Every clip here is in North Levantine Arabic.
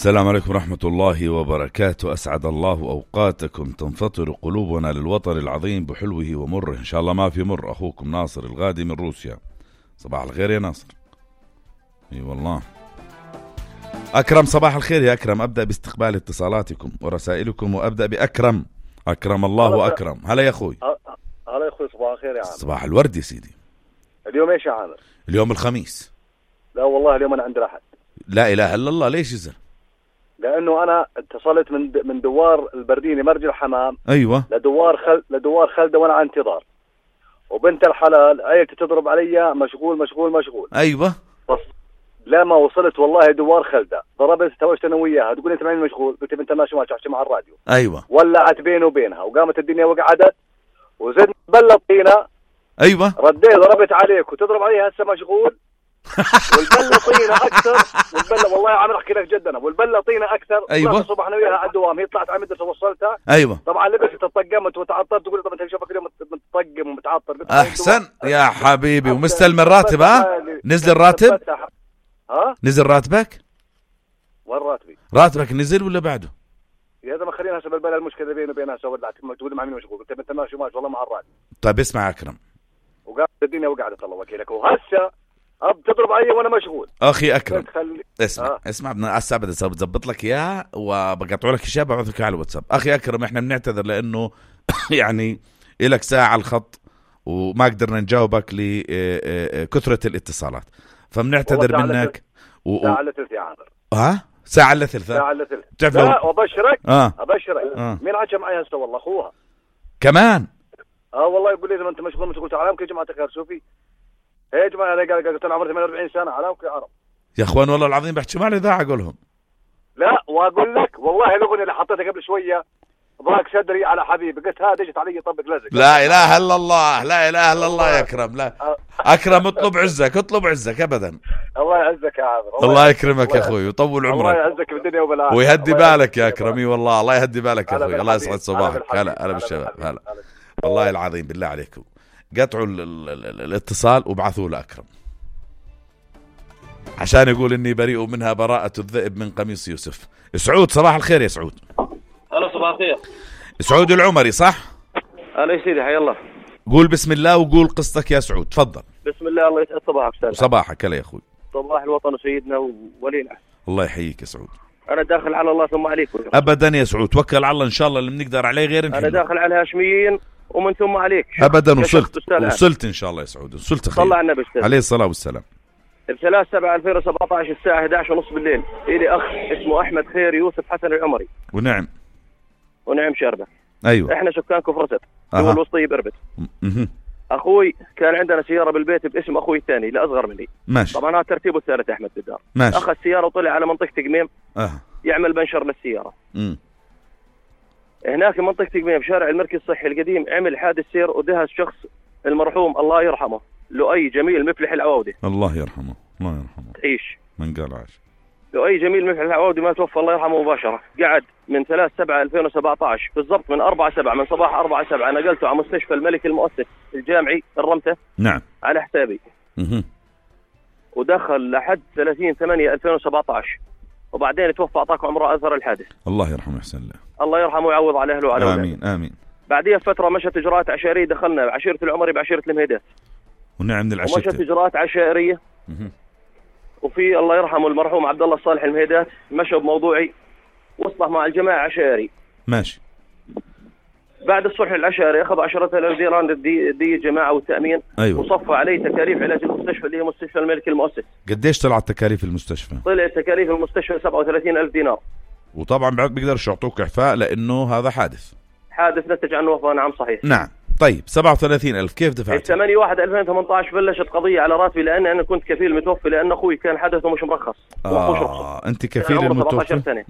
السلام عليكم ورحمة الله وبركاته. أسعد الله أوقاتكم. تنفطر قلوبنا للوطن العظيم بحلوه ومره، إن شاء الله ما في مر. أخوكم ناصر الغادي من روسيا. صباح الخير يا ناصر. اي والله. أكرم صباح الخير يا أكرم. أبدأ باستقبال اتصالاتكم ورسائلكم وأبدأ بأكرم. أكرم الله أكرم. هلا يا أخوي. هلا يا أخوي، صباح الخير يا عامر. صباح الورد يا سيدي. اليوم إيش يا عامر؟ اليوم الخميس. لا والله اليوم أنا عندي راحة. لا إله إلا الله. ليش يزر؟ لأنه أنا اتصلت من دوار البرديني مرج الحمام. أيوة. لدوار خلدة وأنا على انتظار، وبنت الحلال عيلتي تضرب علي مشغول مشغول مشغول. أيوة. بس لما وصلت والله دوار خلدة ضربت توجت أنا وياها، تقول أنت معي مشغول، قلت بنت ماشي ما تحكي مع الراديو. أيوة. ولعت بيني وبينها وقامت الدنيا وقعدت وزدت بلطينا. أيوة. رديت ضربت عليك وتضرب علي هسه مشغول. والبلة طينة أكثر. والبلة والله عم أحكي لك جدا، والبلة طينة أكثر. أيوة. الصبح أنا وياها على الدوام، هي طلعت على المدرسة وصلتها. أيوة. طبعا لبست تطقمت وتعطرت، تقول طب أنت شوفك اليوم متطقم ومتعطر. أحسن يا حبيبي. ومستلم الراتب؟ ها نزل الراتب؟ ها نزل راتبك؟ وين راتبي؟ راتبك نزل ولا بعده؟ يا زلمة خلينا هسه بالبلة المشكلة بيني وبينها سوى تقول مع مين مشغول، قلت أنت ماشي والله مع الراتب. طيب اسمع أكرم. وقامت الدنيا وقعدت الله وكيلك، وهسه تضرب علي وانا مشغول. اخي اكرم اسمع بدنا هسه بظبط لك اياها وبقطع لك اشياء ببعث لك على الواتساب. اخي اكرم احنا بنعتذر لانه يعني لك ساعه على الخط وما قدرنا نجاوبك لكثره الاتصالات، فبنعتذر منك. ساعه الا ثلث يا عامر. ساعه الا ثلث. ساعه الا ثلث. بتعرف لا وابشرك ابشرك. مين حكى معي هسه؟ والله اخوها كمان. والله يقول لي اذا انت مشغول تعال ممكن يا جماعه الخير شوفي. يا جماعه انا قلت انا عمري 48 سنه علامك يا عرب يا اخوان والله العظيم بحكي مع الاذاعه اقولهم. لا واقول لك والله الاغنيه اللي حطيتها قبل شويه ضاق صدري على حبيبي، قلت هذا اجت علي طبق لزق. لا اله الا الله. لا اله الا الله يا اكرم. لا اكرم اطلب عزك اطلب عزك ابدا. الله يعزك يا عامر. الله يكرمك يا اخوي ويطول عمرك. الله يعزك بالدنيا وبالآخرة ويهدي بالك يا اكرمي. والله الله يهدي بالك يا اخوي. الله يسعد صباحك. هلا بالشباب. هلا والله العظيم بالله عليكم قطعوا الاتصال وابعثوا لأكرم عشان يقول اني بريء منها براءة الذئب من قميص يوسف. سعود صباح الخير يا سعود. هلا صباح الخير. سعود العمري صح؟ هلا يا سيدي حي الله. قول بسم الله وقول قصتك يا سعود تفضل. بسم الله. الله يسعد صباحك استاذ. صباحك هلا يا اخوي. صباح الوطن وسيدنا وولينا. الله يحييك يا سعود. انا داخل على الله ثم عليكم. ابدا يا سعود توكل على الله ان شاء الله اللي بنقدر عليه غير انا داخل على الهاشميين ومن ثم عليك. ابدا وصلت ان شاء الله يا سعود. وصلت خير. صلى على النبي عليه الصلاه والسلام. ب3/7/2017 الساعه 11:30 بالليل الي اخ اسمه احمد خير يوسف حسن العمري. ونعم شربه. ايوه احنا سكان كفرست دول الوسطيه بربت. اخوي كان عندنا سياره بالبيت باسم اخوي الثاني الاصغر مني. ماشي. طبعا هذا ترتيبه الثالث احمد بالدار. ماشي. اخذ السياره وطلع على منطقه تقميم يعمل بنشر للسياره. هناك في منطقه تقميم بشارع المركز الصحي القديم عمل حادث سير ودهس شخص المرحوم الله يرحمه لؤي جميل مفلح العوودي. الله يرحمه. الله يرحمه. تعيش من قال عاش. لؤي جميل مفلح العوودي ما توفى الله يرحمه مباشره. قعد من 3/7/2017 بالضبط من 4/7 من صباح 4/7 نقلته على مستشفى الملك المؤسس الجامعي الرمته. نعم على حسابي. ودخل لحد 30/8/2017 وبعدين توفى اعطاكم عمره اثر الحادث. الله يرحمه يحسن له. الله يرحمه ويعوض على اهله وعلى اولاده. امين امين. بعديها فتره مشت اجراءات عشائريه، دخلنا بعشيره العمري بعشيره المهيدات. ونعم من العشيره. ومشت اجراءات عشائريه. وفي الله يرحمه المرحوم عبد الله الصالح المهيدات مشى بموضوعي وصلح مع الجماعه عشائري. ماشي. بعد الصلح العشائري اخذ 10,000 دينار دي الجماعه والتامين. أيوة. وصفى عليه تكاليف علاج المستشفى اللي هي مستشفى الملك المؤسس. قديش طلعت تكاليف المستشفى؟ طلعت تكاليف المستشفى 37,000 دينار. وطبعا بيقدرش يعطوك اعفاء لانه هذا حادث نتج عنه وفاه. نعم صحيح. نعم. طيب 37,000 كيف دفعت؟ 8/1/2018 بلشت قضيه على راتبي لان انا كنت كفيل متوفي لان اخوي كان حدثه مش مرخص. انت كفيل المتوفي. 17 سنه.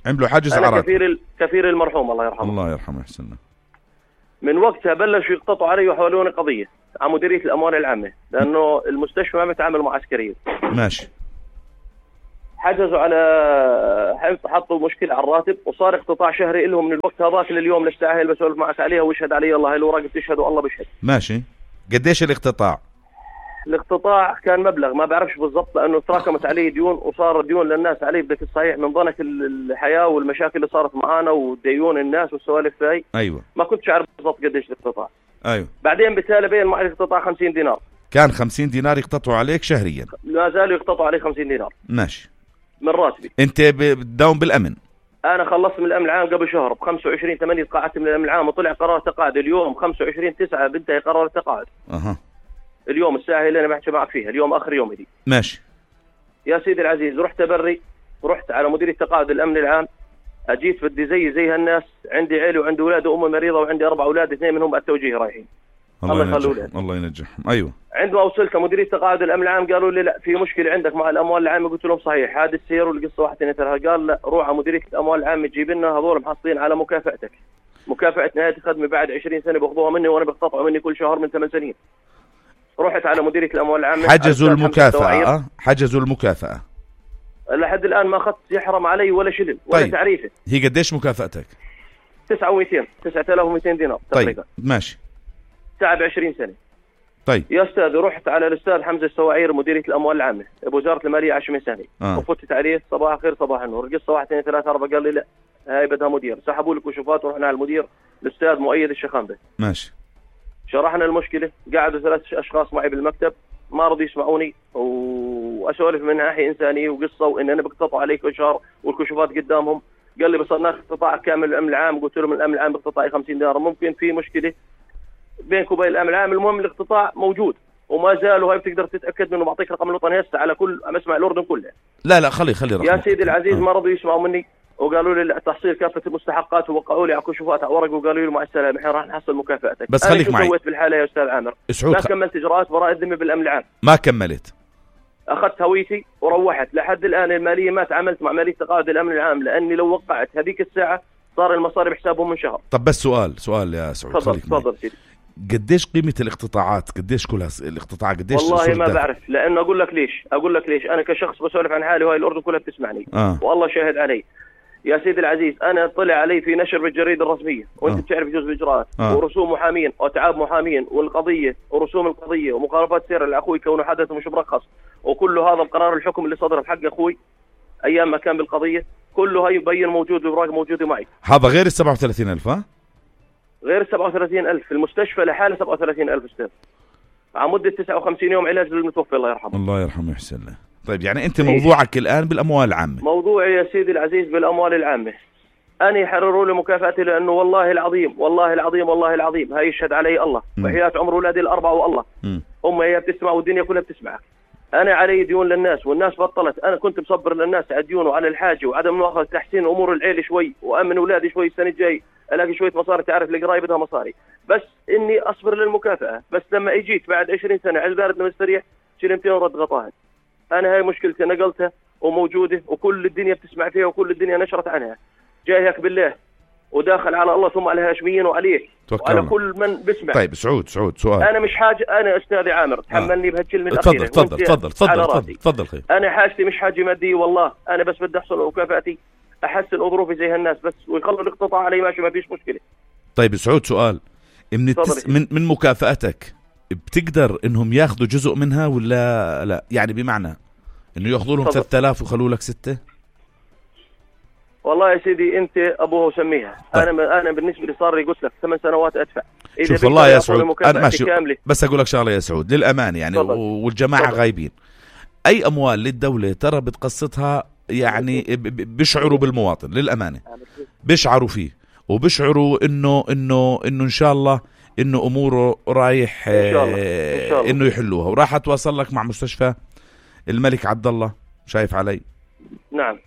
عملوا حجز على راتبي. كفيل المرحوم الله يرحمه. الله يرحمه يحسن له. من وقتها بلشوا يقتطعوا علي ويحولوني قضيه على مديريه الاموال العامه لانه المستشفى ما بتعامل مع عسكريين. ماشي. حجزوا على حطوا مشكله على الراتب وصار اقتطاع شهري لهم من الوقت هذاك لليوم للساعه اللي بسولف معك عليها ويشهد علي الله. هي لو راقب تشهد والله بشهد. ماشي. قديش الاقتطاع؟ الاقتطاع كان مبلغ ما بعرفش بالضبط، لانه تراكمت علي ديون وصار ديون للناس علي بدك الصحيح من ضنك الحياه والمشاكل اللي صارت معانا وديون الناس والسوالف هاي. ايوه ما كنتش اعرف بالضبط قديش الاقتطاع. ايوه بعدين بالتالي بين معي الاقتطاع 50 دينار. كان 50 دينار يقتطعوا عليك شهريا؟ لا زالوا يقتطعوا علي 50 دينار ماشي من راتبي. انت بتداوم بالامن؟ انا خلصت من الامن العام قبل شهر، ب 25/8 تقاعدت من الامن العام وطلع قرار تقاعد اليوم 25/9 بنتهي قرار التقاعد. اليوم الساعه اللي انا بحكي معك فيها اليوم اخر يوم دي. ماشي يا سيدي العزيز، رحت تبري ورحت على مديريه تقاعد الامن العام، اجيت بدي زي هالناس، عندي عيله وعندي اولاد وامي مريضه وعندي 4 اولاد 2 منهم التوجيه رايحين. الله يخلوا الله ينجحهم. ايوه عندما وصلت مديريه تقاعد الامن العام قالوا لي لا في مشكله عندك مع الاموال العامه. قلت لهم صحيح، هذا السير والقصه 1 2 3. قال لا روح على مديريه الاموال العامه تجيب لنا هذول محصلين على مكافاتك، مكافاه نهايه الخدمه بعد 20 سنه باخذوها مني وانا بقتطعوا مني كل شهر من 8 سنين. رحت على مديريه الاموال العامه، حجزوا المكافاه. حجزوا المكافاه لحد الان ما اخذت يحرم علي ولا شلل ولا طيب. تعريفه. هي قديش مكافاتك؟ 9200 دينار تقريبا. طيب ماشي. تعب 20 سنه. طيب يا استاذ، رحت على الاستاذ حمزه السواعير مديريه الاموال العامه بوزاره الماليه عشمي ثاني. وفتت عليه صباح الخير صباح النور، القصه 1 2 3 4. قال لي لا هاي بدها مدير. سحبوا لي كشوفات ورحنا على المدير الاستاذ مؤيد الشخامبه. ماشي. شرحنا المشكله، قعدوا 3 اشخاص معي بالمكتب ما رضوا يسمعوني واسولف من ناحيه انسانيه وقصه وان انا بقتطع عليك كل شهر والكشوفات قدامهم. قال لي بس ناخذ اقتطاع كامل الامن العام. قلت له من الامن العام باقتطاعي 50 دينار، ممكن في مشكله بينك وبين الامن العام. المهم الاقتطاع موجود وما زال، وهي بتقدر تتاكد منه. بعطيك رقم الوطني هسه على كل مسمع الاردن كلها. لا خلي رقم يا سيدي العزيز. ما رضوا يسمعوا مني وقالوا لي لا تحصيل كافه المستحقات ووقعوا لي على كشوفات على ورق وقالوا لي مع السلامه احنا راح نحصل مكافاتك. بس خليك معي. سويت بالحاله يا استاذ عامر؟ سعود ما كملت اجراءات براءه الذمه بالامن العام. ما كملت. اخذت هويتي وروحت. لحد الان الماليه ما تعاملت مع ماليه تقاعد الامن العام، لاني لو وقعت هذيك الساعه صار المصاري بحسابهم من شهر. طب بس سؤال يا سعود. تفضل سيدي. قديش قيمه الاقتطاعات؟ قديش كل الاقتطاع قديش؟ والله ما بعرف، لانه اقول لك ليش انا كشخص بسولف عن حالي وهي الاردن كلها بتسمعني. والله شاهد علي يا سيدي العزيز. انا طلع علي في نشر بالجريده الرسميه وانت بتعرف جزء الاجراءات ورسوم محامين واتعاب محامين والقضيه ورسوم القضيه ومخالفات سير لاخوي كونه حدث مش مرخص، وكل هذا القرار الحكم اللي صدر بحق اخوي ايام ما كان بالقضيه كله هي يبين موجود بالاوراق موجوده معي. هذا غير ال 37,000 غير 37,000 في المستشفى لحاله 37,000 استاذ على مده 59 يوم علاج للمتوفى الله يرحمه. الله يرحمه ويحسن له. طيب يعني انت موضوعك الان بالاموال العامه؟ موضوعي يا سيدي العزيز بالاموال العامه. أنا يحرروا لي مكافاتي لأنه والله العظيم هاي يشهد علي الله وحياة عمر أولادي ال4 والله. هي بتسمع والدنيا كلها بتسمعك. أنا علي ديون للناس والناس بطلت. أنا كنت مصبر للناس على ديون وعلى الحاجة وعدم مؤاخذة تحسين أمور العيلة شوي وأمن أولادي شوي. السنة الجاي ألاقي شوية مصاري، تعرف القراية بدها مصاري، بس إني أصبر للمكافأة. بس لما إجيت بعد 20 سنة على دارتنا مستريح شلمتين ورد غطاها. أنا هاي مشكلتي نقلتها وموجودة وكل الدنيا بتسمع فيها وكل الدنيا نشرت عنها. جاي هيك بالله وداخل على الله ثم على الهاشميين وعليك وعلى كل من بسمع. طيب سعود سؤال. انا مش حاجه، انا استاذي عامر تحملني بهالكلمه الاخيره. تفضل خير. انا حاجتي مش حاجه ماديه والله، انا بس بدي احصل مكافاتي احسن ظروفي زي هالناس بس، ويخلوا الاقتطاع علي ماشي ما فيش مشكله. طيب سعود سؤال، من مكافاتك بتقدر انهم ياخذوا جزء منها ولا لا؟ يعني بمعنى انه ياخذوا لهم 3000 ويخلوا لك 6؟ والله يا سيدي انت ابوه وسميها. طيب. انا بالنسبه لي صار لي قلت لك 8 سنوات ادفع. شوف والله يا سعود انا ماشي بس اقول لك شغله يا سعود للامانه يعني والجماعه غايبين. اي اموال للدوله ترى بتقسطها يعني بيشعروا بالمواطن للامانه، بيشعروا فيه وبيشعروا انه ان شاء الله انه اموره رايح إن شاء الله. انه يحلوها. وراح اتواصل لك مع مستشفى الملك عبد الله، شايف علي؟ نعم.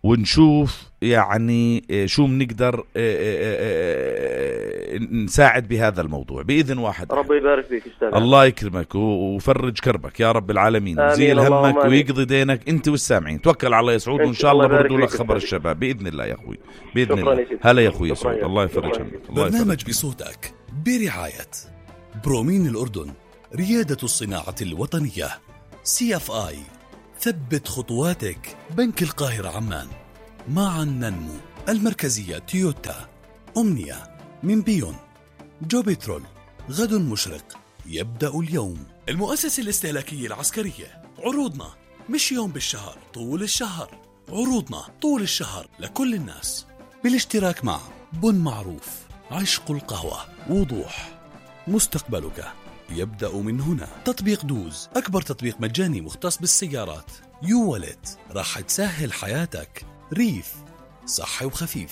ونشوف يعني شو بنقدر نساعد بهذا الموضوع بإذن واحد. ربي يبارك فيك استاذ. الله يكرمك ويفرج كربك يا رب العالمين، ويزيل همك ويقضي دينك انت والسامعين. توكل على الله يا سعود وان شاء الله بردوا لك خبر الشباب بإذن الله يا اخوي، بإذن الله. هلا يا اخوي يا سعود، الله يفرج همك. برنامج بصوتك برعاية برومين الأردن، ريادة الصناعة الوطنية. CFI، ثبت خطواتك. بنك القاهرة عمان، معا ننمو. المركزية تويوتا. أمنية من بيون. جوبيترول، غد مشرق يبدأ اليوم. المؤسسة الاستهلاكية العسكرية، عروضنا مش يوم بالشهر، طول الشهر. عروضنا طول الشهر لكل الناس، بالاشتراك مع بن معروف، عشق القهوة، وضوح. مستقبلك يبدأ من هنا. تطبيق دوز، أكبر تطبيق مجاني مختص بالسيارات. يو والت، راح تسهل حياتك. ريف، صحي وخفيف.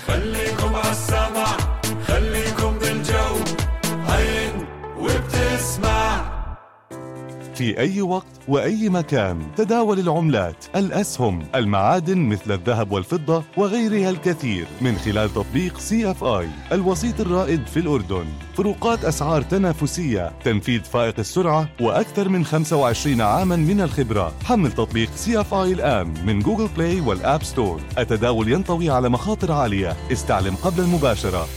خليكم عالسمع، خليكم بالجو، عين وبتسمع. في أي وقت وأي مكان تداول العملات، الأسهم، المعادن مثل الذهب والفضة وغيرها الكثير من خلال تطبيق CFI، الوسيط الرائد في الأردن. فروقات أسعار تنافسية، تنفيذ فائق السرعة، وأكثر من 25 عاما من الخبرة. حمل تطبيق CFI الآن من جوجل بلاي والآب ستور. التداول ينطوي على مخاطر عالية، استعلم قبل المباشرة.